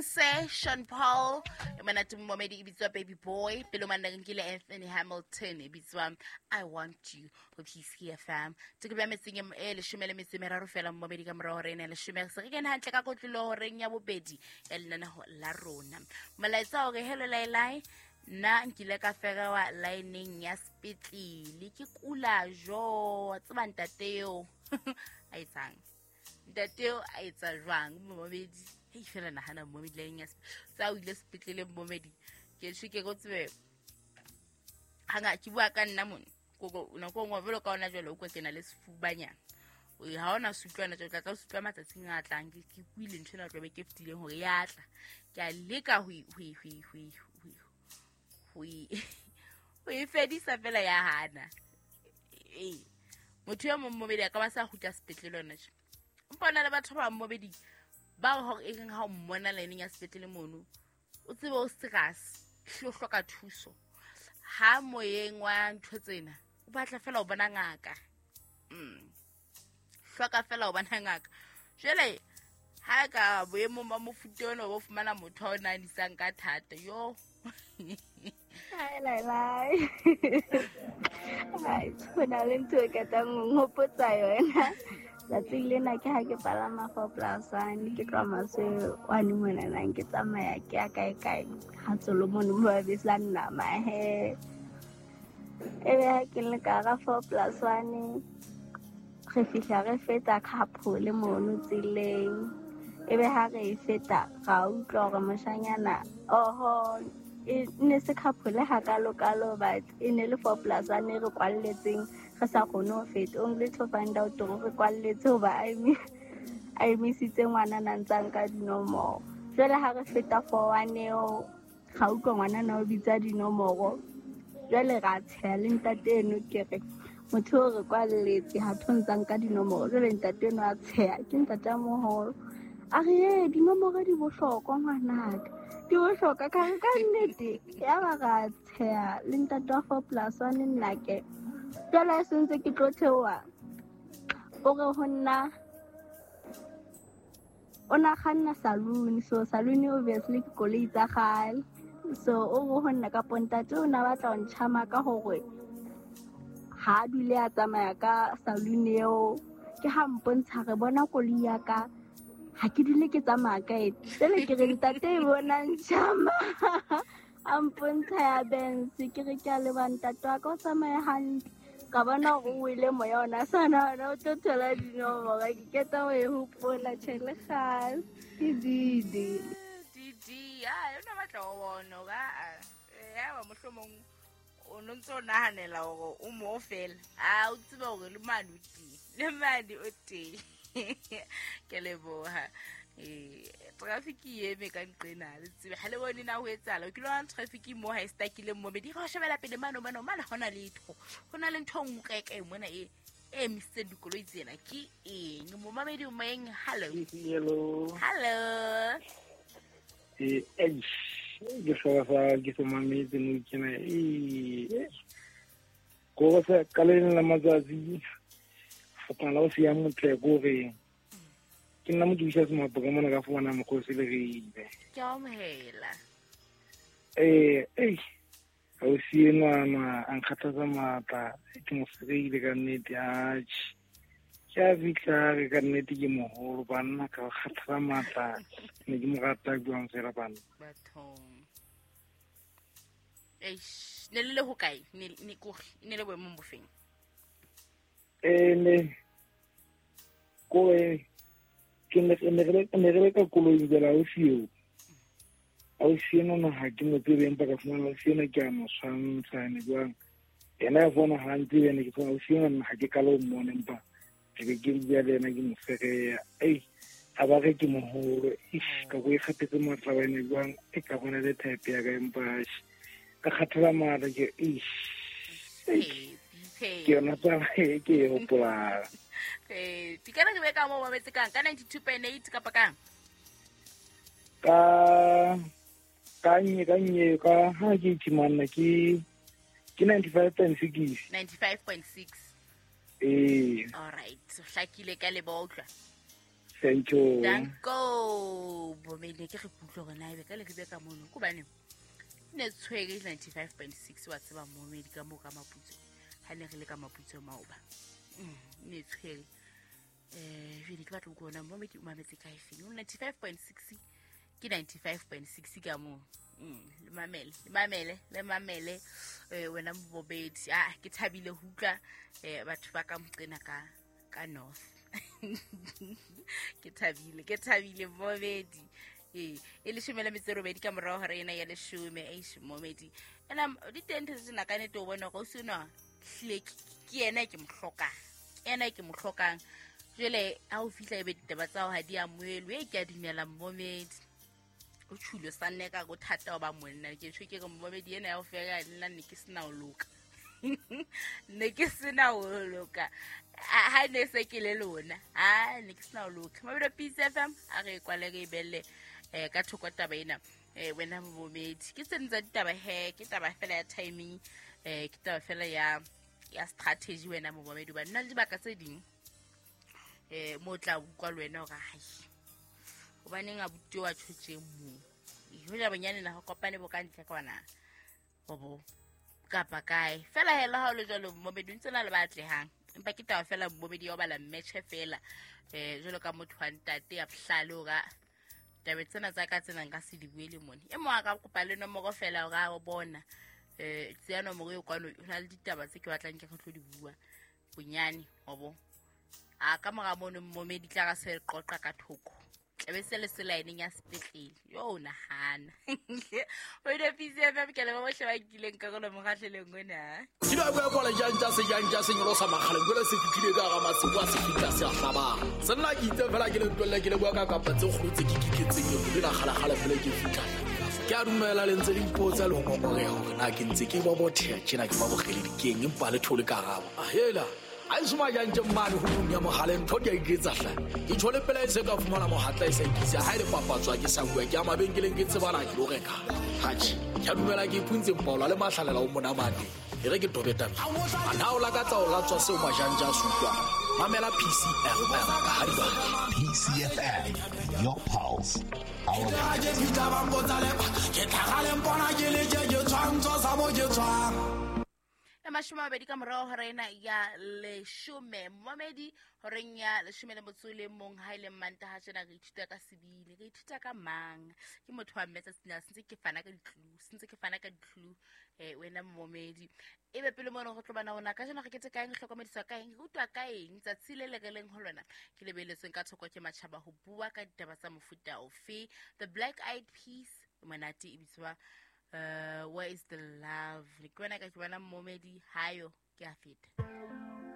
Se Sean Paul e monate momedi e bitswa Baby Boy, pele o manna nkile Anthony Hamilton e bitswa I Want You go PCFM. Tokelo ya metseng e 13 fela momedi ka morago re ene 10, se re kene hantle ka kotlolo horeng ya bobedi ya lenaneho la rona. Molaetsa hore hello lailai, nna nkile ka ferewa lineng ya sepetlele ke kula jo tseba ntate eo a etsang, ntate eo a etsa jwang momedi? Hei fela nahana momedi lineng ya tsa o ile sepetlele momedi, ke tjho ke go tsebe hanga ke bua ka nna mone koko nako nngwe jwalo ka ona jwale o kwa ke na le sefubanyana ha ona se utlwana tla tla se utlwa matsatsing a tlang. Ke kuile ntho ena tlabe ke fetileng hore ya tla, ke a leka ho e fedisa fela ya hana. Ee, motho yo mong momedi a ka ba sa kgutla sepetlele yona tje, empa o na le batho ba momedi bao hore e reng ha o mmona lineng ya sepetlele mono o tsebe o serious hle o hloka thuso ha moyeng wa ntho tsena, o batla fela o bona ngaka, hloka fela o bona ngaka. Jwale ha ka boemong ba mofuta ona o fumana motho a o nahanisang ka thata yo. Hi, lai, lai. Ai, ho na le ntho e ketang ho nghopotsa yona. Tsatsing lena ke ha ke palama 4+1 ke tloha maswe wane monanang ke tsamaya ke ya kae kae ha Solomon mo ba besa nama he. Ebe ha ke le ka hara 4+1 re fihla re feta Khaphole mono tseleng. Ebe ha re e feta ra utlwa hore moshanyana oho e ne se Khaphole hakalo-kalo, but e ne le 4+1 e re kwalletseng re sa kgone ho feta. Only to find out hore re kwalletse hoba a emisitse ngwanana a ntsa nka dinomoro. Jwale ha re feta 4-1 eo ra utlwa ngwanana o bitsa dinomoro. Jwale ra tsheha le ntate eno, ke re motho o re kwalletse ha tho ntsa nka dinomoro. Jwale ntate eno a tsheha, ke ntate a moholo, a re ee dinomoro di bohlokwa ngwanaka, di bohlokwa. Ka re ka nnete, ya ba ra tsheha le ntate wa 4+1 nnake. Jwale ha se ntse ke tlo theoha, o re ho nna o na kganna saloon, so saloon obviously ke koloi tsa kgale. So o re ho nna kapo ntate o na batla ho ntjhama ka hore ha a dule a tsamaya ka saloon eo. Ke ha mpontsha re bona koloi ya ka, ha ke dule ke tsamaya ka e. Jwale ke re ntate e bona ntjhama, a mpontsha ya Benz. Ke re ke a leboha ntate wa ka, o tsamaye hantle. Ka bona hore o wele moya ona sa nahana o tlo thola dinomoro. Ke qeta ho e hopola, tjhe le kgale. Ke Didi. Didi, ah, yona batla ho bona hore, ah, ya ba mohlomong o no ntso nahanela hore o mo fela. Ah, o tsebe hore le mane o teng, le mane o teng. Ke leboha. Traffic e eme ka nqena, le tsebe ha le bone na ho etsahala. O kile wa bona traffic mo ha e stakile mo, be di re shebela pele mane mane mane, hona letho. Ho na le ntho e nngwe kae kae mona e emisitseng dikoloi tsena ke eng? Momamedi o moyeng, hello. Hello. Hello. Eish, ke hloka sa ke se mametse mo kena. Ko sa ka le leng la matsatsi fapana la o siya motle ko re ke nna mo ke bisa semapo ka mona ka fumana mokgosi le re ile. Ke a amohela. Eish, ha o siye ngwana a nkgathatsa matla, ke mo fereile ka nnete, atjhe. Ke a fihla re ka nnete ke moholo banna ka kgathatsa matla, ne ke mo rata buang fela banna. Bathong. Eish, ne le le hokae? Ne ko ne le boemong bofeng? Ne ko ke ne ne re le ka koloing jwale, ha o siyo. Ha o siyo nona ha ke mo tsebe, empa ka fumana o siyo ke a mo tshwantsha ene jwang. Yena ya fumana ha ntse ene ke fumana o siyo nna ha ke kalo mmone, empa ke be ke bua le yena ke mo fereya. Ei, a ba re ke moholo. Eish, ka bo e kgathetse matla wa ene jwang, e ka bona le type ya ka, empa eish, ka kgathala matla ke, eish. Ke yona taba e ke e hopolang. Di kana ke be ka mo mametse kang? Ka 92.8 kapa kang? Ka nye, ka nye, ka ha ke itse manna, ke 95.6. 95.6. Ee. All right, so hlakile ka leboha utlwa. Thank you. Danko bomedi ke re kutlwe hore na ebe ka le re ka mono hobane ne tshwere 95.6 wa tseba momedi ka mo ka Maputso ha ne re le ka Maputso maoba ne tshwere jwale ke batla go bona momedi o mametse kae feng 95.6 ke 95.6 ka mo. Le mamele wena mobedi ke thabile ho utlwa batho ba ka moqena ka north. Ke thabile mobedi e 18 ka morao hore ena ya 10 eish momedi ena di tente tsena ka nete o bona go sena hlile ke yena ke mo hlokang jwale ha o fihla ebe ditaba tsa ho ha di amohelwe ke a dumela momedi o tshule sa nne ka go thata ba monna ke tshwe ke re momedi ena ya o fela nna ne ke sena o loka ne ke sena o loka ha ne se ke le lona ha ne ke sena o loka mabelo Peace FM a re kwale re belle ka thoko taba ena wena momedi ke tsentsa ditaba he ke taba fela ya timing ke taba fela ya strategy wena momedi ba nna le dibaka tse ding mo tla utlwa le wena hore hai hobaneng a butiwa tshotse mo hoja bonyane na ho kopane bo ka ntle kwana bobo kapa kae fela hela ha o le jwalo momedi ntse na le batlehang empa ke taba fela momedi ya bala match fela jwalo ka motho wa ntate ya bohlale hore taba tsena tsa ka tsena nka se di buele mone e mo a ka kopa le nomoro fela hore a bona tseya nomoro e kwano hona le ditaba tse ke batlang ke re tlo di bua bonyane hobo a ka mora mono momedi tla ka se qoqa ka thoko tlabe se le selaeneng ya sepetlele yo nahana o ile Peace FM ke le ba bohle ba kileng karolo mokgahlelong ona ke ba bua bola jantja se jantja se nyolosa makgaleng jwale se fitlhile ka ga masebo a se fitla se a hlabang se nna ke itse fela ke le ntwelle ke le bua ka kapa tse kgolo tse ke kiketseng ke la kgalakgala fela ke fitlha ke a dumela le ntse le ipotsa le ho ngongoreha hore na ke ntse ke ba botheha tjena ke ba bokgeledi keng empa le thole karabo ahela a isuma jantje mmane ho tlung ya mohaleng ntho di a iketsa hle ke tshole pela e se ka fumana mohatla e sa ikisa ha ile papatswa ke sa bua ke a mabenkeleng ke tsebana ke lo reka hatjhe ke a dumela ke ipuntse mpaola le mahlalela o monamane e re ke tobeta a na o lakatsa o latswa seo majanja a sutlwang mamela PCFM ka ha di PCFM your pulse our ke tlhagaleng bona ke le ke tshwantsho sa mo ke tshwang 20 ka morao hore ena ya 10 momedi horeng ya 10 le motso le mong ha ile manta ha tjena re ithuta ka sebile re ithuta ka mang ke motho wa mmetsa sena sentse ke fana ka ditlu wena momedi ebe pele mona go tlobana ona ka jena re ketse kaeng hlokomediswa kaeng re utwa kaeng tsatsi le le releng ho lona ke lebeletsweng ka thoko ke matjhaba ho bua ka ditaba tsa mofuta ofe the Black Eyed Peas monate e bitswa where is the love? Ke bona ka ke bona momedi hayo ke a feta.